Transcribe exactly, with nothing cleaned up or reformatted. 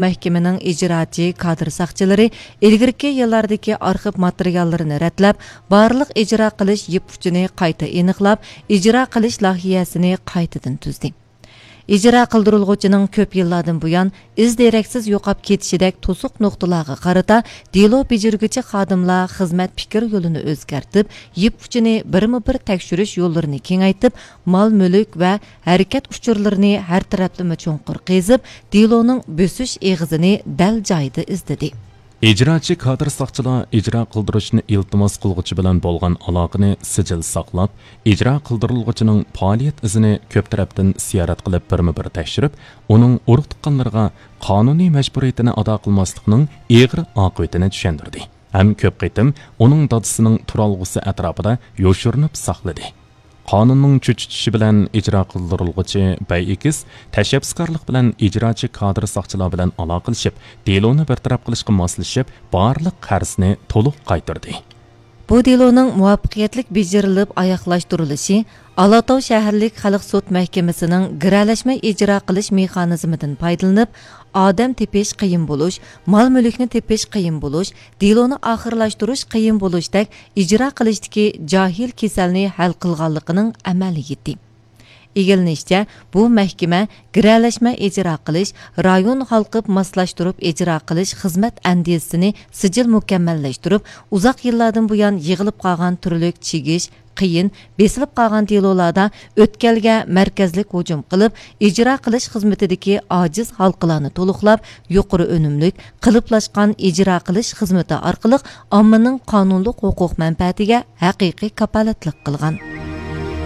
مەھكىمىنىڭ ئىجراچى كادىر ساقچىلىرى ئىلگىرىكى يىللاردىكى ئارخىپ ماتېرىياللىرىنى رەتلەپ، بارلىق ئىجرا قىلىش يىپ ئۇچىنى قايتا ئېنىقلاپ، ئىجرا قىلىش لايىھەسىنى قايتىدىن تۈزدى. ئىجرا قىلدۇرۇلغۇچىنىڭ كۆپ يىللاردىن بۇيان ئىز دېرەكسىز يوقاپ كېتىشىدەك توسۇق نۇقتىلارغا قارىتا دېلو بېجىرگۈچى خادىملار خىزمەت پىكىر يولىنى ئۆزگەرتىپ، يىپ ئۇچىنى بىرمۇ بىر تەكشۈرۈش يوللىرىنى كېڭەيتىپ، مال مۈلۈك ۋە ھەرىكەت ئۇچۇرلىرىنى ھەر تەرەپلىمە چوڭقۇر قېزىپ، دېلونىڭ بۆسۈش ئېغىزىنى دەل جايىدا ئىزدىدى. ئىجراچى كادىر ساقچىلار ئىجرا قىلدۇرۇشنى ئىلتىماس قىلغۇچى بىلەن بولغان ئالاقىنى سىجىل ساقلاپ، ئىجرا قىلدۇرۇلغۇچىنىڭ پائالىيەت ئىزىنى كۆپ تەرەپتىن زىيارەت قىلىپ، بىرمۇ بىر تەكشۈرۈپ، ئۇنىڭ ئۇرۇق تۇغقانلىرىغا قانۇنىي مەجبۇرىيىتىنى ئادا قىلماسلىقنىڭ ئېغىر ئاقىۋىتىنى چۈشەندۈردى ھەم كۆپ قېتىم ئۇنىڭ دادىسىنىڭ تۇرالغۇسى ئەتراپىدا يوشۇرۇنۇپ ساقلىدى. قانۇننىڭ چۆچۈتۈشى بىلەن ئىجرا قىلدۇرۇلغۇچى بەي ئېكىس تەشەببۇسكارلىق بىلەن ئىجراچى كادىر ساقچىلار بىلەن ئالاقىلىشىپ، دېلونى بىر تەرەپ قىلىشقا ماسلىشىپ، بارلىق قەرزنى تولۇق قايتۇردى. بۇ دېلونىڭ مۇۋەپپەقىيەتلىك بېجىرىلىپ ئاياغلاشتۇرۇلۇشى ئالاتاۋ شەھەرلىك خەلق سوت مەھكىمىسىنىڭ گىرەلەشمە ئىجرا قىلىش مېخانىزمىدىن پايدىلىنىپ، ئادەم تېپىش قىيىن بولۇش، مال مۈلۈكنى تېپىش قىيىن بولۇش، دېلونى ئاخىرلاشتۇرۇش قىيىن بولۇشتەك ئىجرا قىلىشتىكى جاھىل كېسەلنى ھەل قىلغانلىقىنىڭ ئەمەلىيىتى. ئىگىلىنىشىچە، بۇ مەھكىمە گىرەلەشمە ئىجرا قىلىش، رايون ھالقىپ ماسلاشتۇرۇپ ئىجرا قىلىش خىزمەت ئەندىزىسىنى سىجىل مۇكەممەللەشتۈرۈپ، ئۇزاق يىللاردىن بۇيان يىغىلىپ قالغان تۈرلۈك چىگىش، قىيىن، بېسىلىپ قالغان دېلولاردا ئۆتكەلگە مەركەزلىك ھۇجۇم قىلىپ، ئىجرا قىلىش خىزمىتىدىكى ئاجىز ھالقىلارنى تولۇقلاپ، يۇقىرى ئۈنۈملۈك، قېلىپلاشقان ئىجرا قىلىش خىزمىتى ئارقىلىق ئاممىنىڭ قانۇنلۇق ھوقۇق مەنپەئەتىگە ھەقىقىي كاپالەتلىك قىلغان.